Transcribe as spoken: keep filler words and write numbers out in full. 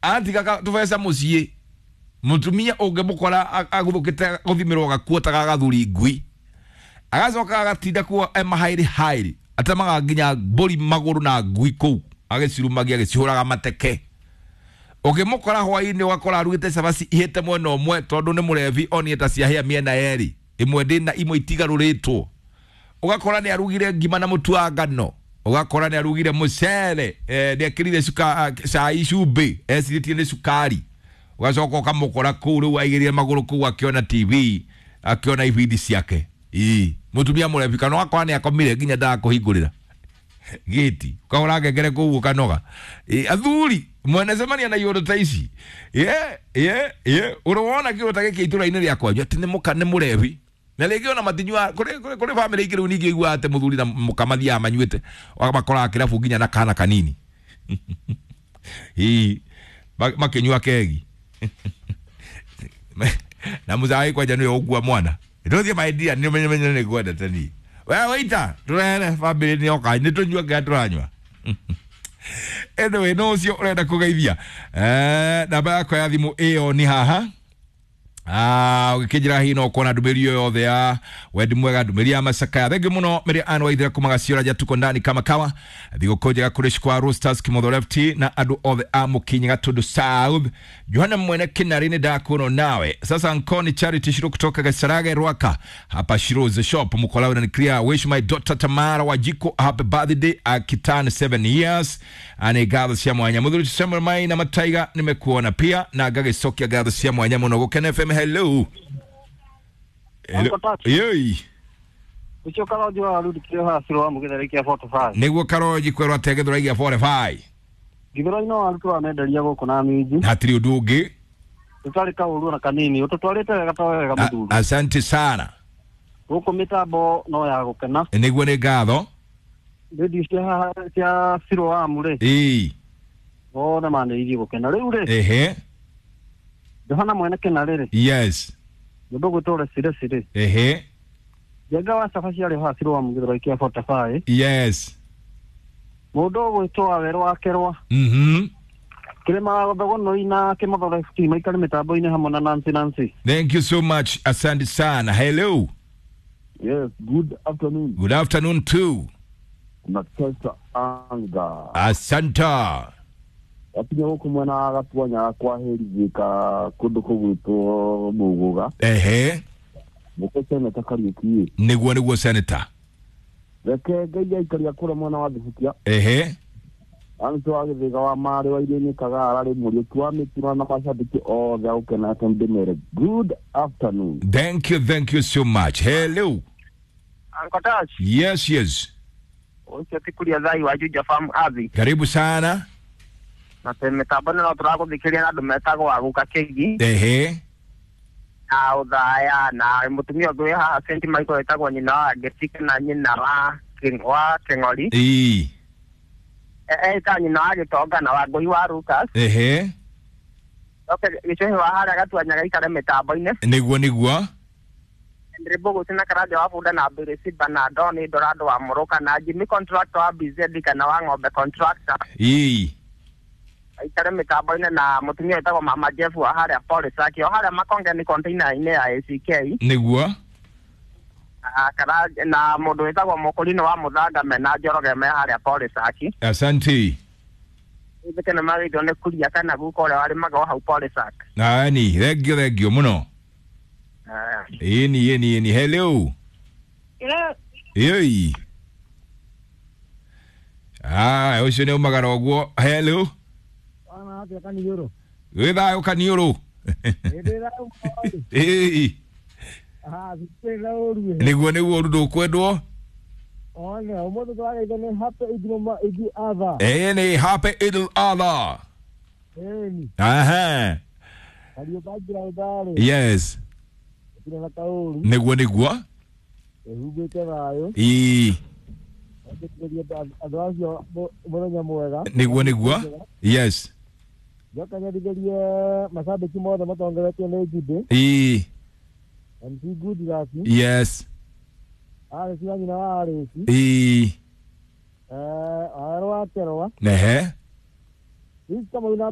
Atiga tubeca muciĩ, mutumia ũngĩmũkora aguthũkĩte gũthimĩrwo gakuo ta gagathuri ngui, agacoka agatinda kuo e mahairi hairi, atemaga nginya mbũri magũrũ na ngui kũu agĩcirumagia agĩcihũraga mateke. Ũngĩmũkora hwainĩ ũgakora arugĩte cabaci ihĩte mwena ũmwe tondũ nĩ mũrebi onire ta ciahĩa mĩena yerĩ, ĩmwe ndĩna imwe itigarũrĩtwo. Ũgakora nĩ arugire ngima na mũtu wa ngano, ũgakora nĩ arugire mũcere, eh, nĩ ekĩrire cuka cai cumbĩ ecirĩtie nĩ cukari. Ũgacoka ũkamũkora kũu rĩu aigĩrĩire magũrũ kũu akĩona T V, akĩona ibindi ciake. Ii mũtumia mũrebi, kana ũgakora nĩ akomire nginya ndagakũhingũrĩra gĩti, ũkahũra ngengere kũu ũkanoga. Ĩ, athuri mwanacemania na iũndũ ta ici, ye ye ye ũrĩ wona kĩũndũ ta gĩkĩ itũra-inĩ rĩa kwanyu atĩ nĩ mũka nĩ mũrebi, na rĩngĩ ona matinyua kũrĩ kũrĩ kũrĩ bamĩrĩ ingĩ rĩu ningĩ iguaga atĩ mũthuri na mũka mathiaga manyuĩte, makoraga kĩrabu nginya na kana kanini. Ii makĩnyua kegi na mũcai kwanja nĩwe ũkua mwana ndũthiĩ maindia nĩ menye menye nĩ ngwendete niĩ we waita tũrehere bamĩrĩ nĩ oka nĩ tũnyua kĩrĩa tũranyua. Anyway, no ũcio ũrenda kũgeithia, eh, namba yakwa ya thimũ ĩyo nĩ haha. Ah, ũgĩkĩnjĩra hihi no kuona ndũmĩrĩri ĩyo yothe ya wendi mwega, ndũmĩrĩri ya macakaya. Thengi mũno Mary Ann Waithera kuma Gaciora, tuko ndani kama kawa. Thigũkũ njega kũrĩ Shikwa Roasters, Kimotho Left na andũ othe a Mũkinyi Gatundu South. Johanna Mwene Kinari nĩ ndakuona nawe sasa. Nkoni Charity Shiro kutoka Gasarage Rwaka hapa Shiro's shop Mukolawe na clear. Wish my daughter Tamara Wajiko a happy birthday akiturn seven years. Ane gatho cia mwanya muthuri Samuel Mai na Mataiga, nimekuona pia na ngagĩcokia ngatho cia mwanya mũno. Gũkena F M, hello. Hello. Uncle Touch. Yoi. Ucio Karonji wa Rudi kĩo haha Ciro wa Mũgĩtheri kĩa mĩrongo ĩnana na ithano. Nĩguo Karonji kwerwo atĩa Gĩthũrai mĩrongo ĩnana na ithano? Gĩthũrai no arutwo amenderia gũkũ na minji. Hatirĩ ũndũ ũngĩ. Tũtarĩ kaũru ona kanini, ũtũtwarĩte wega to wega. A- Mũthuri asante sana. Gũkũ mĩtambo no ya gũkena. Nĩguo, nĩ ngatho. Redio cia haha cia Ciro wa rĩ, ĩĩ othe manĩrĩirie gũkena rĩu rĩ. Ehe. Johana Mwene Kĩnarĩ rĩ, yes mũndũ ũgwĩtwo Recireci rĩ, ehe Njenga wa cabaci arĩ haha Ciro wa Mũgĩthũrai kĩa mĩrongo ĩnana na ithano. Yes. Mũndũ ũgwĩtwo Wawerũ wa Kerwa, mhm Kĩrĩma Thogonoi na Kĩmotho F T maikare mĩtambo-inĩ hamwe na Nancy Nancy. Thank you so much, asante sana. Hello. Yes, good afternoon. Good afternoon too. Natesa Anga. Asante. Wakinya gũkũ mwena wa Gatuanya kwa Hĩrithĩka kũndũ kũgwĩtwo Mũgũga. Ehe. Mũkũ Seneta Kariũki. Nĩguo nĩguo senator. Reke Ngai aikaria kũrĩa mwena wa Thibukia. Ehe. Anto wa Gĩthĩga wa Marĩ wa Iria-inĩ Kagara rĩ, Mũriũki wa Mĩtira na macambĩki othe a Gũkena F M ndĩmere. Good afternoon. Thank you, thank you so much. Hello. Uncle Touch. Yes yes. Ũcio ti kuria thai wa Juja Farm Athi. Karibu sana. Na tĩ mĩtambo no tũragũthikĩria na andũ metagwo Aguka Kĩgi Ehe. Na Ũthaya na mũtumia ũngĩ wĩ haha Saint Michael wĩtagwo nyina wa Ngĩtike na nyina wa King- wa Kĩng'ori. Ĩĩ. Ĩta nyina wa Gĩtonga na Wangũi wa Lucas. Ehe. Oke gĩcũhĩ wa harĩa Gatuanya gaikare mĩtambo-inĩ. Nĩguo nĩguo. Ndĩrĩ Mbũgũci na Karanja wa Bunda na Mbĩrĩ Simba na Ndoni Ndorando wa Mũrũka na Jimmy contractor wa B Z kana wa ng'ombe contractor Ĩĩ. aikare mĩtambo-inĩ na mũtumia wĩtagwo Mama Jeff wa harĩa Polisaki o harĩa Makongeni container-inĩ ya A C K. Nĩguo. Na Karanja na mũndũ wĩtagwo Mũkũrinũ wa Mũthanga mena Njoroge me harĩa Polisaki. Asante. Ithike nĩ magĩithio nĩ kuria kana guka ũrĩa warĩmaga o hau Polisak. Nani, thengio thengio mũno. Ĩni ĩni ĩni, hello. Hello. Ĩi. Ah, ũcio nĩ umagara ũguo. Hello. Wana atĩa Kaniũrũ? Wĩ thayũ Kaniũrũ? Ĩndĩ thayũ. Ĩĩ. Ah, thikĩrĩra ũru. Nĩguo nĩguo, ũru ndũkwendwo. One, ũmũthĩ tũrageithio nĩ happy Idul Idi Adha. Ĩĩ, nĩ happy Idul Adha. Ĩni, Aha. Kariũka njĩra Yes. gũtirĩ na kaũru. Nĩguo nĩguo. Ĩhumbĩte thayũ. Ĩĩ. Etĩkĩrie andũ acio mũ- mũthenya mwega. Nĩguo nĩguo. Yes. Njoka nyendithĩrie macambĩki mothe matongoretio nĩ Njibĩ, Ĩĩ. M C Goodluck, Yes. Alex wa nyina wa Alex, Ĩĩ. eh, Wawerũ wa Kerwa, Ehe. Ika Maina.